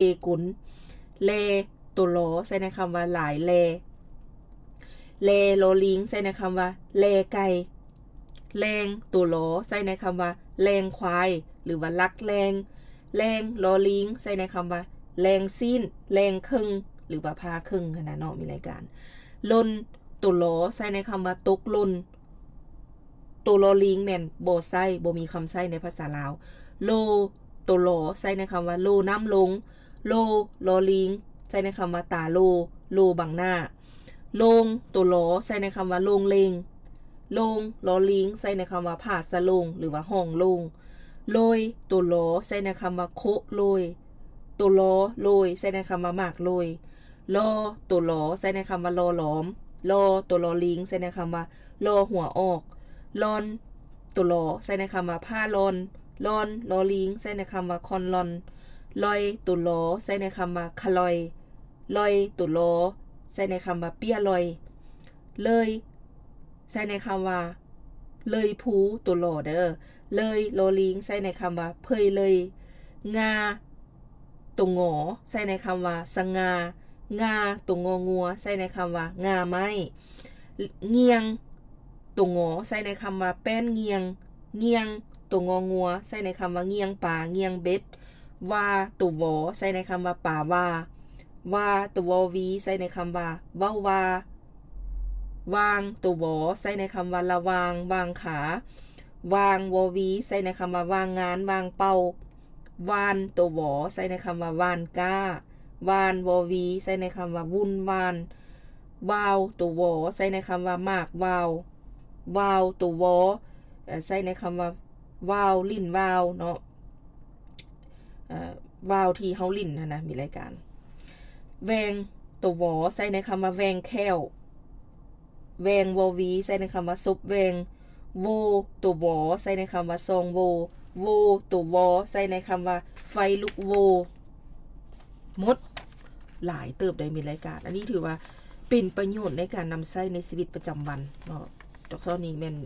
ເລກຸນ. ແລ ຕົວ ລ ໃຊ້ໃນຄຳວ່າ ຫຼາຍແລ. ແລ ລໍລີງ ໃຊ້ໃນຄຳວ່າ ແລໄກ່. ແລງ ຕົວ ລ ໃຊ້ໃນຄຳວ່າ ແລງຄວາຍ ຫຼືວ່າ ລັກແລງ. ແລງ ລໍລີງ ໃຊ້ໃນຄຳວ່າ ແລງຊີ້ນ, ແລງເຄິ່ງ ຫຼືວ່າ ຜ່າເຄິ່ງຫັ້ນນະເນາະ ມີລາຍການ. ຫຼົ່ນ ຕົວ ລ ໃຊ້ໃນຄຳວ່າ ຕົກຫຼົ່ນ. ໂຕລໍລີງແມ່ນບໍ່ໃຊ້, ບໍ່ມີຄຳໃຊ້ໃນພາສາລາວ. ໂລ ໂຕລໍໃຊ້ໃນຄຳວ່າ ໂລນ້ຳລົງ. ໂລ ລໍລີງ ໃຊ້ໃນຄຳວ່າ ຕາໂລ, ໂລບັງໜ້າ. ໂລງ ໂຕລໍໃຊ້ໃນຄຳວ່າ ໂລງເລງ. ໂລງ ລໍລີງ ໃຊ້ໃນຄຳວ່າ ຜາສະໂລງ ຫຼືວ່າ ຫ້ອງໂລ່ງ. ໂລຍ ໂຕລໍໃຊ້ໃນຄຳວ່າ ໂຄະໂລຍ. ໂຕລໍໂລຍ ໃຊ້ໃນຄຳວ່າ ໝາກໂລຍ. ລໍ ໂຕລໍໃຊ້ໃນຄຳວ່າ ຫຼໍ່ຫຼອມ. ລໍ ໂຕລໍລີງ ໃຊ້ໃນຄຳວ່າ ລໍຫົວອອກ. ລອນ ໂຕລໍໃຊ້ໃນຄຳວ່າ ຜ້າລອນ. ລອນ ລໍລີງ ໃຊ້ໃນຄຳວ່າ ຄອນລອນ. ລອຍ ໂຕລໍໃຊ້ໃນຄຳວ່າ ຂະລອຍ. ລອຍ ໂຕລໍໃຊ້ໃນຄຳວ່າ ເປ້ຍລອຍ. ເລີຍ ໃຊ້ໃນຄຳວ່າ ເລີຍພູ ໂຕລໍເດີ. ເລີຍ ລໍລີງ ໃຊ້ໃນຄຳວ່າ ເພີຍເລີຍ. ງາ ໂຕງໍ ໃຊ້ໃນຄຳວ່າ ສະຫງ່າ. ງາ ໂຕງໍງົວ ໃຊ້ໃນຄຳວ່າ ງ່າໄມ້. ງ່ຽງ ໂຕງໍໃຊ້ໃນຄຳວ່າ ແປ້ນງ່ຽງ. ງ່ຽງ ໂຕງໍງົວ ໃຊ້ໃນຄຳວ່າ ງ່ຽງປາ, ງ່ຽງເບັດ. ວາ ໂຕວໍ ໃຊ້ໃນຄຳວ່າ ປາວ່າ. ວາ ໂຕວໍວີ ໃຊ້ໃນຄຳວ່າ ເວົ້າວ່າ. ວາງ ໂຕວໍ ໃຊ້ໃນຄຳວ່າ ລະຫວ່າງ, ຫວ່າງຂາ. ວາງ ວໍວີ ໃຊ້ໃນຄຳວ່າ ຫວ່າງງານ, ຫວ່າງເປົ່າ. ວານ ໂຕວໍ ໃຊ້ໃນຄຳວ່າ ຫວ່ານກ້າ. ວານ ວໍວີ ໃຊ້ໃນຄຳວ່າ ວຸ່ນຫວ່ານ. ວາວ ໂຕວໍ ໃຊ້ໃນຄຳວ່າ ໝາກຫວ່າວ. ວາວ ໂຕວໍ ເອີ ໃຊ້ໃນຄຳວ່າ ຫວ່າວ ຫຼິ້ນຫວ່າວເນາະ, ເອີ ຫວ່າວທີ່ເຮົາຫຼິ້ນຫັ້ນນະ ມີລາຍການ. ແວງ ໂຕວໍ ໃຊ້ໃນຄຳວ່າ ແວງແຂ້ວ. ແວງ ວໍວີ ໃຊ້ໃນຄຳວ່າ ສົບແວງ. ໂວ ໂຕວໍ ໃຊ້ໃນຄຳວ່າ ຊອງໂວ. ໂວ ໂຕວໍ ໃຊ້ໃນຄຳວ່າ ໄຟລຸກໂວ. ໝົດ ຫຼາຍເຕີບໄດ໋ ມີລາຍການ. ອັນນີ້ຖືວ່າເປັນປະໂຫຍດໃນການນຳໃຊ້ໃນຊີວິດປະຈຳວັນເນາະ. ດອກຊອນນີ້ແມ່ນ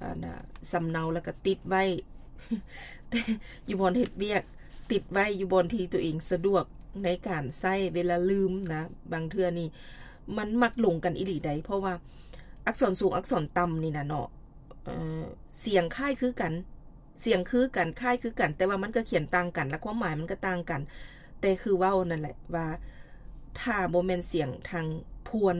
ອັນນ່າ ສຳເນົາ ແລ້ວກໍຕິດໄວ້ ຢູ່ບ່ອນເຮັດວຽກ, ຕິດໄວ້ຢູ່ບ່ອນທີ່ຕົວເອງສະດວກໃນການໃຊ້ ເວລາລືມນະ. ບາງເທື່ອນີ້ມັນມັກຫຼົງກັນອີ່ຫຼີໃດ໋ ເພາະວ່າອັກສອນສູງ ອັກສອນຕ່ຳນີ້ນະເນາະ ເອີ ສຽງຄ້າຍຄືກັນ, ສຽງຄືກັນ, ຄ້າຍຄືກັນ, ແຕ່ວ່າມັນກໍຂຽນຕ່າງກັນ ແລະ ຄວາມໝາຍມັນກໍຕ່າງກັນ. ແຕ່ຄືເວົ້ານັ້ນແຫຼະວ່າ ຖ້າບໍ່ແມ່ນສຽງທາງພວນ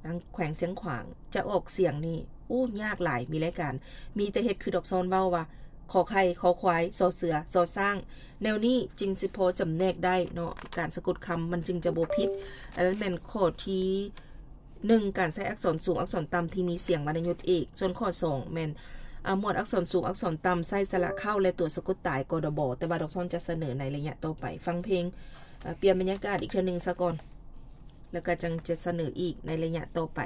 ທາງແຂວງຊຽງຂວາງ ຈະອອກສຽງນີ້ ໂອ້ ຍາກຫຼາຍ. ມີລາຍການ ມີແຕ່ເຮັດຄືດອກຊອນເວົ້າວ່າ ຂໍໄຂ່, ຄໍຄວາຍ, ຊໍເສືອ, ຊໍຊ້າງ. ແນວນີ້ຈຶ່ງຊິພໍຈຳແນກໄດ້ເນາະ, ການສະກົດຄຳມັນຈຶ່ງຈະບໍ່ຜິດ. ອັນນັ້ນແມ່ນຂໍ້ທີ ໜຶ່ງ ການໃຊ້ອັກສອນສູງ ອັກສອນຕ່ຳທີ່ມີສຽງວັນນະຍຸດເອກ. ສ່ວນຂໍ້ສອງແມ່ນ ອາ ໝວດອັກສອນສູງ ອັກສອນຕ່ຳໃຊ້ສະຫຼະເຄົ້າ ແລະ ຕົວສະກົດຕາຍ ກດບ. ແຕ່ວ່າດອກຊອນຈະສະເໜີໃນໄລຍະຕໍ່ໄປ. ຟັງເພງ ອາ ປ່ຽນບັນຍາກາດອີກເທື່ອໜຶ່ງສາກ່ອນ ແລ້ວກໍຈັ່ງຈະສະເໜີອີກໃນໄລຍະຕໍ່ໄປ.